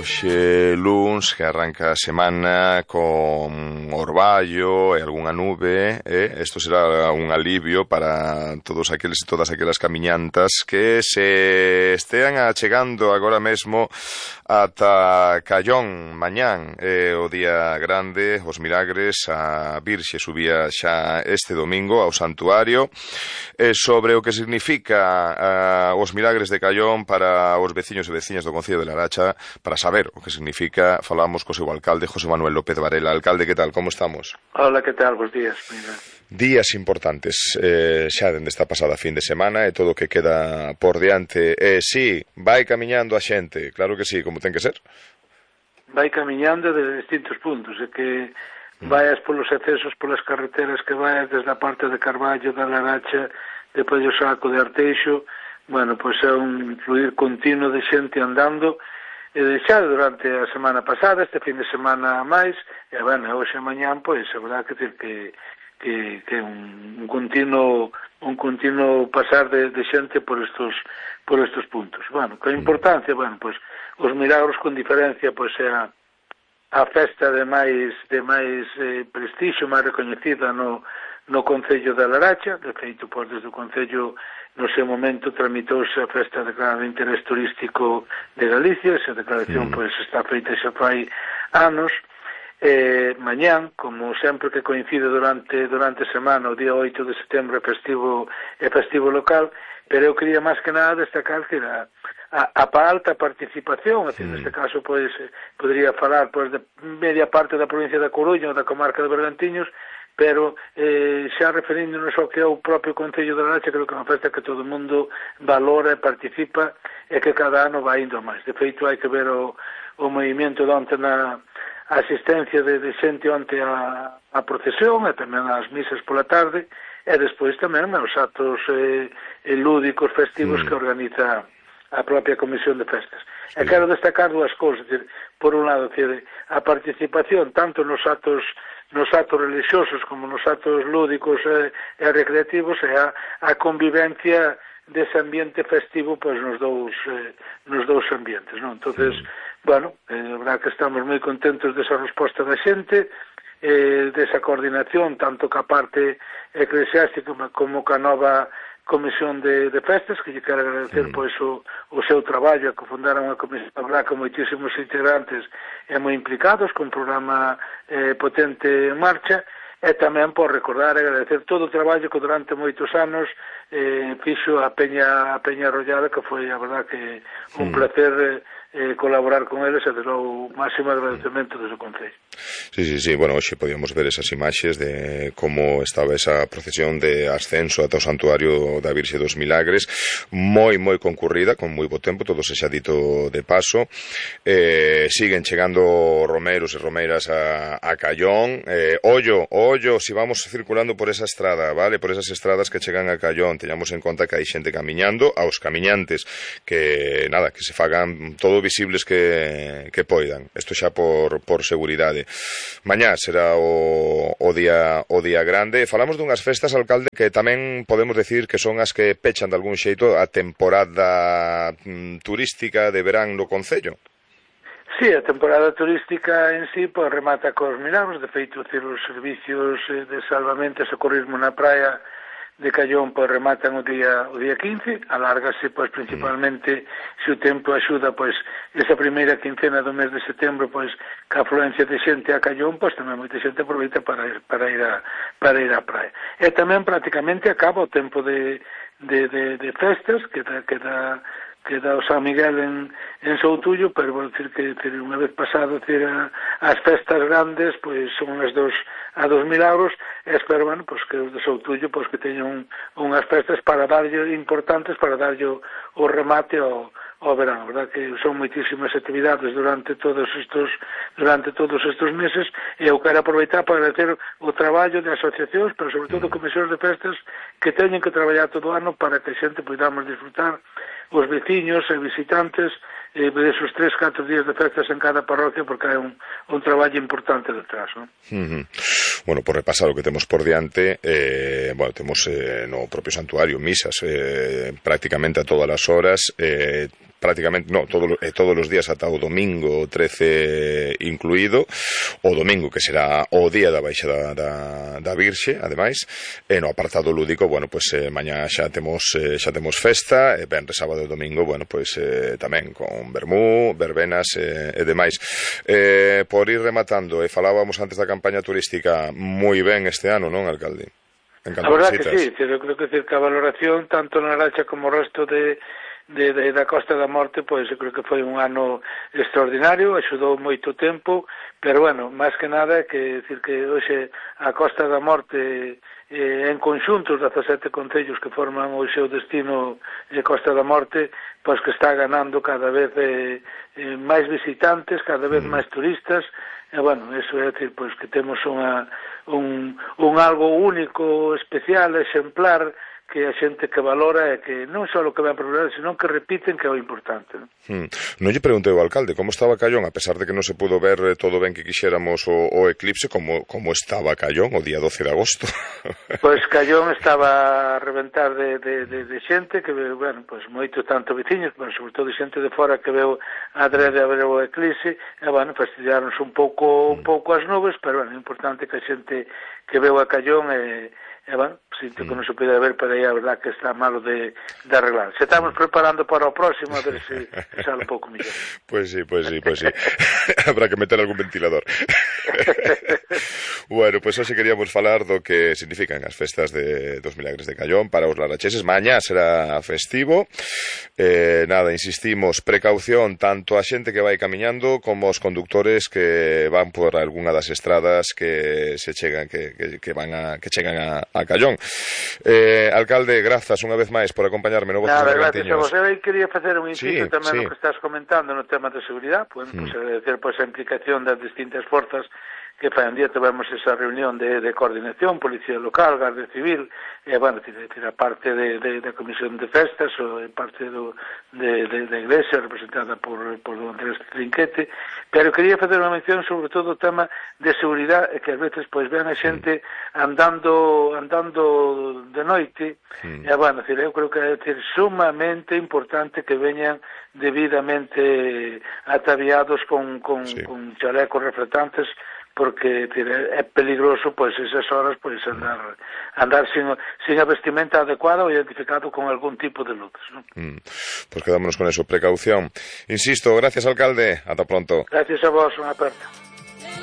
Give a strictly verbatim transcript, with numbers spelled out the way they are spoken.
Hoxe luns que arranca a semana con orballo e algunha nube, e isto será un alivio para todos aqueles e todas aquelas camiñantas que se estean achegando agora mesmo ata Callón mañán, é o día grande, os milagres. A Virxe subía xa este domingo ao santuario, e sobre o que significa uh, os milagres de Callón para os veciños e veciñas do Concello de Laracha. Para saber o que significa, falamos co seu alcalde, José Manuel López Varela. Alcalde, que tal? Como estamos? Hola, que tal? Bos días. Mira. Días importantes, eh, xa dende esta pasada fin de semana e todo o que queda por diante. E eh, sí, vai camiñando a xente, claro que sí, como ten que ser. Vai camiñando de distintos puntos, e que vayas polos accesos, polas carreteras que vayas desde a parte de Carballo, da Laracha, de Pollo Saco, de Arteixo. Bueno, pois é un fluir continuo de xente andando, e xa durante a semana pasada, este fin de semana a máis, e bueno, hoxe e mañán, pois, a verdade que ter que que que un, un continuo un continuo pasar de, de xente por estos por estos puntos. Bueno, que importancia, bueno, pois os milagros con diferencia, pois é a, a festa de máis de máis eh, prestixio, máis recoñecida no no Concello da Laracha. De feito, pois, desde o Concello no seu momento tramitouse a festa declarada de interés turístico de Galicia. Esa declaración, mm. pois, está feita xa fai anos. Eh, mañán, como sempre que coincide durante durante a semana, o día oito de setembro é festivo, é festivo local, pero eu quería máis que nada destacar que a, a, a alta participación, assim, mm. neste caso, pois, podría falar, pois, de media parte da provincia da Coruña ou da comarca de Bergantiños, pero eh, xa referíndonos ao que é o propio Concello de Laracha, creo que é unha festa que todo o mundo valora e participa, e que cada ano vai indo máis. De feito, hai que ver o, o movimento de onte na asistencia de, de xente onte a, a procesión, e tamén as misas pola tarde, e despois tamén os atos eh, lúdicos festivos mm. que organiza a propia Comisión de Festas. Sí. E quero destacar dúas cousas, decir, por un lado, decir, a participación tanto nos atos nos atos religiosos como nos atos lúdicos e, e recreativos, e a, a convivencia dese ambiente festivo, pois, nos dous eh, nos dous ambientes, non? Entonces, mm. bueno, eh, a verdade que estamos moi contentos desa resposta da xente, eh, desa coordinación tanto ca parte eclesiástica como ca nova Comisión de, de Festas, que lle quero agradecer mm. pois o, o seu traballo, que fundaron unha comisión con moitísimos integrantes e moi implicados, con un programa eh, potente en marcha, e tamén por recordar e agradecer todo o traballo que durante moitos anos eh, fixo a Peña a Peña Arrollada, que foi, a verdade, que un mm. placer eh, colaborar con eles, e desde o máximo agradecemento desde o Concello. Sí, sí, sí, bueno, hoxe podíamos ver esas imaxes de como estaba esa procesión de ascenso ata o santuario da Virxe dos Milagres, moi, moi concurrida, con moi bo tempo, todo se xa dito de paso. Eh, siguen chegando romeros e romeiras a, a Callón. Eh, ollo, ollo, si vamos circulando por esa estrada, vale, por esas estradas que chegan a Callón, teñamos en conta que hai xente camiñando, aos camiñantes, que, nada, que se fagan todo visibles que, que poidan. Isto xa por, por seguridade. Mañá será o, o día o día grande. Falamos dunhas festas, alcalde, que tamén podemos decir que son as que pechan de algún xeito a temporada mm, turística de verán no Concello. Sí, a temporada turística en sí, pois, remata cos milagros. De feito, os servicios de salvamento e socorrismo na praia de Callón, pois, rematan o día o día quince, alárgase, pois, principalmente, mm. se o tempo axuda, pois, esa primeira quincena do mes de setembro, pois, que a afluencia de xente a Callón, pois, tamén moita xente aproveita para ir, para ir a para ir á praia. E tamén, prácticamente, acaba o tempo de, de, de, de festas, que da, que da que dá o San Miguel en, en Soutullo, pero vou dicir que decir, unha vez pasado decir, a, as festas grandes, pois son as dos a dos milagros, e espero, bueno, pois, que os de Soutullo, pois, que teñan un, unhas festas para darlle importantes, para darlle o, o remate ao, ao verán, verdad que son moitísimas actividades durante todos estes durante todos estes meses, e eu quero aproveitar para agradecer o traballo de asociacións, pero sobre todo comisións de festas que teñen que traballar todo o ano para que a xente podamos disfrutar, os veciños e visitantes, eh, esos tres, catro días de festas en cada parroquia, porque hai un, un traballo importante detrás, non? Uh-huh. Bueno, por repasar o que temos por diante, eh, bueno, temos eh, no propio santuario misas eh, prácticamente a todas as horas, eh, prácticamente, no, todo, eh, todos os días ata o domingo trece incluído, o domingo que será o día da baixa da, da, da Virxe, ademais, e no apartado lúdico, bueno, pois pues, eh, mañá xa temos eh, xa temos festa, e venres, sábado e domingo, bueno, pois pues, eh, tamén con vermú, verbenas eh, e demais. Eh, por ir rematando, e falábamos antes da campaña turística moi ben este ano, non, alcalde? A verdad que sí, eu creo que, decir, que a valoración tanto na Laracha como o resto de, de, de da Costa da Morte, pois eu creo que foi un ano extraordinario, axudou moito tempo, pero bueno, máis que nada que decir que hoxe a Costa da Morte eh, en conxunto os dezasete concellos que forman o seu destino de Costa da Morte, pois que está ganando cada vez eh, eh, máis visitantes, cada vez máis turistas. E, bueno, eso é decir, pois, que temos unha, un, un algo único, especial, exemplar, que a xente que valora e que non só o que ven por ver, senón que repiten, que é o importante. Non, hmm. non lle preguntei ao alcalde como estaba Callón, a pesar de que non se pudo ver todo ben que quixéramos o, o eclipse, como, como estaba Callón o día doce de agosto. Pois Callón estaba a reventar de, de, de, de xente, que, bueno, pois moito tanto veciños, pero sobre todo xente de fora que veu a adrede a ver o eclipse, e, bueno, fastidiáronse un pouco, un pouco as nubes, pero, bueno, é importante que a xente que veu a Callón e, e bueno, sinto que non se pode ver, pero aí a verdad que está malo de, de arreglar. Se estamos preparando para o próximo, a ver se sale un pouco mellor. Pois sí, pois sí, pois sí. Habrá que meter algún ventilador. Bueno, pois hoxe queríamos falar do que significan as festas de dos Milagres de Callón para os laracheses. Mañá será festivo. Eh, nada, insistimos, precaución tanto a xente que vai camiñando como os conductores que van por algunha das estradas que se chegan que, que, que van a que chegan a, a Callón. Eh, alcalde, grazas unha vez máis por acompañarme no Voces Nada, gracias a vos. Eu quería facer un inciso sí, tamén sí. no que estás comentando no tema de seguridade, pues, mm. pues agradecer pois, a implicación das distintas forzas que fai un día tivemos esa reunión de, de coordinación, Policía Local, Garda Civil, e, bueno, decir, a parte de, de, de Comisión de Festas, ou parte do, de, de, de Iglesia, representada por, por don Andrés Trinquete, pero quería facer unha mención sobre todo o tema de seguridade, que ás veces, pois, ven a xente andando andando de noite, mm. e, bueno, decir, eu creo que é decir, sumamente importante que veñan debidamente ataviados con, con, sí. con chalecos reflectantes, porque é peligroso pois esas horas pois andar andar sin, sin a vestimenta adecuada ou identificado con algún tipo de luces, ¿no? Mm. Pues quedámonos con eso, precaución. Insisto, gracias alcalde, ata pronto. Gracias a vos, unha aperta.